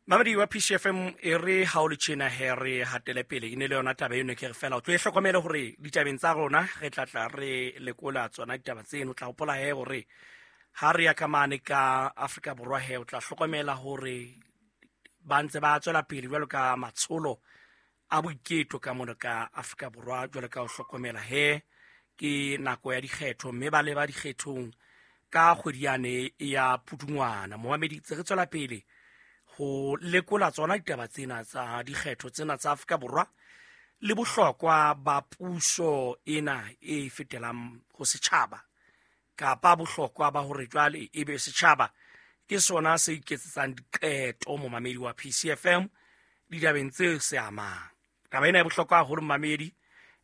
Mamedi wa PCFM, e re ha o le tjena he re hatele pele. E ne le yona taba eno, ke re fela o tlo e hlokomele hore ditabeng tsa rona re tla tla re lekola tsona ditaba tseno. O tla hopola he hore ha re ya ka mane ka Afrika Borwa he, o tla hlokomela hore ba ntse ba tswela pele jwalo ka matsholo a boiketlo ka mono ka Afrika Borwa. Jwalo ka ho hlokomela he ke nako ya dikgetho, mme ba leba dikgethong ka kgwedi yane ya Pudungwana. Momamedi, tse re tswela pele ho lekola tsona ditaba tsena tsa dikgetho tsena tsa Afrika Borwa le bohlokwa ba puso ena e fetelang ho setjhaba, kapa bohlokwa ba hore jwale ebe setjhaba ke sona se iketsetsang diqeto. Momamedi wa PCFM, ditabeng tse se amang taba ena e bohlokwa haholo, momamedi,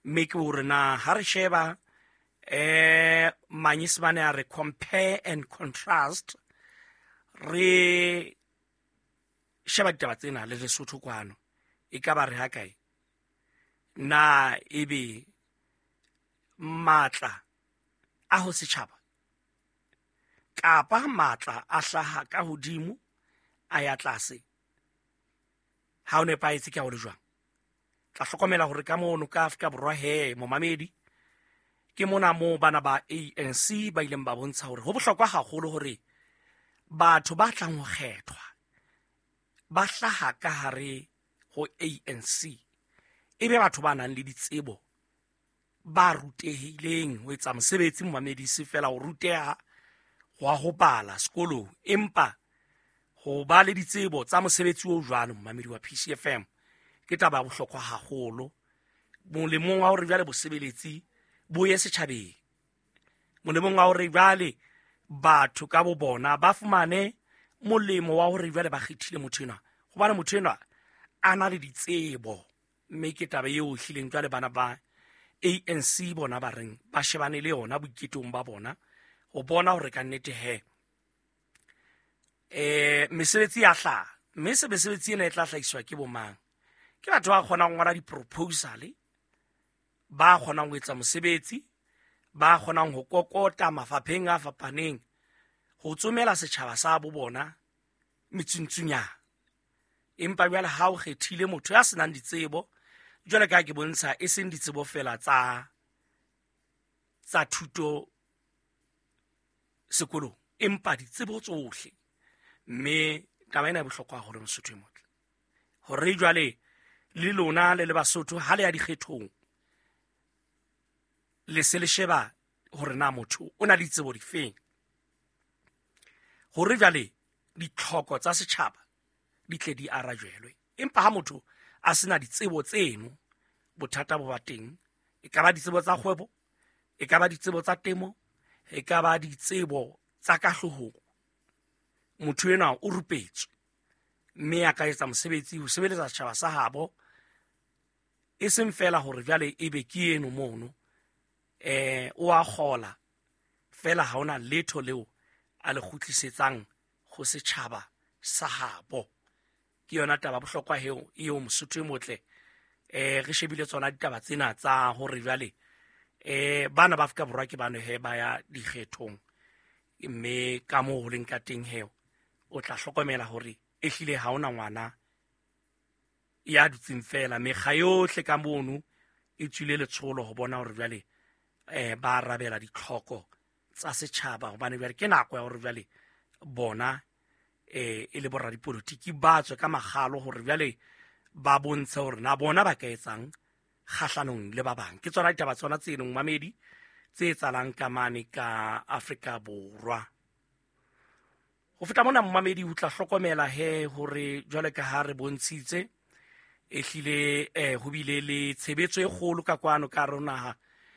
mme ke hore na ha re sheba manyesemane a re compare and contrast, re sheba ditaba tsena le Lesotho kwano, e ka ba re ha kae na ebe matla a ho setjhaba kapa matla a hlaha ka hodimo a ya tlase? Ha o nepahetse ke ha o le jwang? Tla hlokomela hore ka mono ka Afrika Borwa he, momamedi, ke mona moo bana ba ANC ba ileng ba bontsha hore ho bohlokwa haholo hore batho ba tlang ho kgethwa ba hlaha ka hare ho ANC, e be batho ba nang le ditsebo, ba rutehileng ho etsa mosebetsi. Momamedi, se fela ho ruteha wa ho bala sekolong, empa ho ba le ditsebo tsa mosebetsi o jwalo, momamedi wa PCFM, ke taba ya bohlokwa haholo molemong wa hore jwale bosebeletsi bo ye setjhabeng, molemong wa hore jwale batho ka bo bona ba fumane molemo wa hore jwale ba kgethile motho enwa hobane motho enwa a na le ditsebo. Mme ke taba eo hlileng jwale bana ba ANC bona ba reng ba shebane le yona boiketong ba bona, ho bona hore ka nnete he mesebetsi ya hlaha, mme se mesebetsi ena e tla hlahiswa ke bomang? Ke batho ba kgonang ho ngola di-proposal, ba kgonang ho etsa mosebetsi, ba kgonang ho kokota mafapheng a fapaneng ho tsomela setjhaba sa bo bona metsuntsunyana. Empa jwale ha o kgethile motho ya senang ditsebo, jwale ka ke bontsha, e seng ditsebo fela tsa thuto sekolong, empa ditsebo tsohle. Mme taba ena e bohlokwa haholo, Mosotho e motle, hore jwale le lona le le Basotho, ha le ya dikgethong, le se le sheba hore na motho o na le ditsebo difeng, hore jwale ditlhoko tsa setjhaba di tle di arajelwe. Empa ha motho a sena ditsebo tseno, bothata bo ba teng. E ka ba ditsebo tsa kgwebo, e ka ba ditsebo tsa temo, e ka ba ditsebo tsa ka hloohong, motho enwa o rupetswe mme a ka etsa mosebetsi ho sebeletsa setjhaba sa habo, e seng fela hore jwale ebe ke eno mono o a kgola fela, ha ona letho leo a le kgutlisetsang ho setjhaba sa habo. Ke yona taba bohlokwa eo eo, Mosotho e motle. Re shebile tsona ditaba tsena tsa hore jwale bana ba Afrika Borwa ke bano he ba ya dikgethong, mme ka moo ho leng ka teng he, o tla hlokomela hore ehlile ha ona ngwana ya dutseng fela. Mekga yohle ka mono e tswile letsholo ho bona hore jwale ba arabela ditlhoko tsa setjhaba, hobane jwale ke nako ya hore jwale bona e le boradipolotiki ba tswe ka magalo hore jwale ba bontshe hore na bona ba ka etsang kgahlanong le ba bang. Ke tsona ditaba tsona tse leng, mamedi, tse etsahalang ka mane ka Afrika Borwa. Ho feta mona, momamedi, o tla hlokomela he hore jwale ka ha re bontshitse, ehlile ho bile le tshebetso e kgolo ka kwano ka hare ho naha.